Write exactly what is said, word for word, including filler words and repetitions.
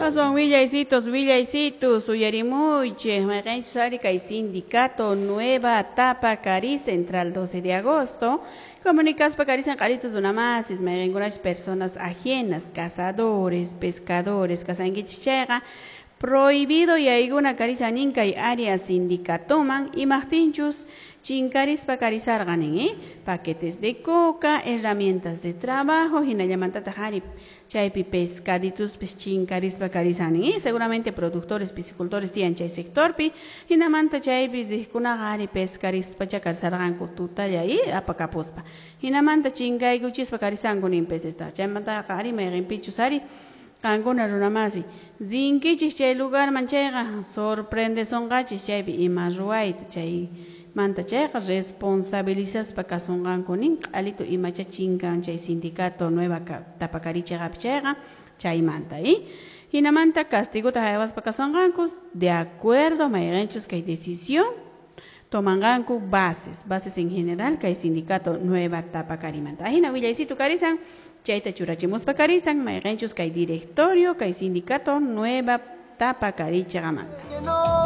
Aswan willaysitos, willaysitos, uyarimuychik, mayqinchus ari kay sindicato Nueva Tapacarí Central doce de agosto, comunicaspa karisan q'aritus runamasis, mayqinkunash personas ajenas, cazadores, pescadores, kasankichis chayqa, prohibido yaykuna karisanin kay área sindicatoman imaqtinchus chinkarispa karisarqa nin, eh? Paquetes de coca, herramientas de trabajo, hinallamantataq ari chaypi pescadituspis chinkarispa karisanin, eh? Seguramente productores, piscicultores tiyan chay sectorpi, hinamanta chaypi riqkunaqa ari pescarispacha karisarqanku tutalla, eh? Apakapuspa. Hinamanta chinkaykuchispa karisanku nin pecesta. Chaymantaqa ari mayqinpichus ari qankuna runamasi rinkichis chay lugarman chayqa sorprendesonqachis chaypi ima ruwayta chay manta chayqa responsabilizaspa kasunqanku nin q'alitu imacha chinkan chay sindicato Nueva Tapacarí chayqapi chayqa chaymanta, eh? Hinamanta castigota haywaspa kasunqanku de acuerdo mayqinchus kay decisión tomanqanku bases, bases en general kay sindicato Nueva Tapacarimanta. Ahina willaysitu karisan chayta churachimuspa karisan mayqinchus kay directorio kay sindicato Nueva Tapacarí chayqamanta.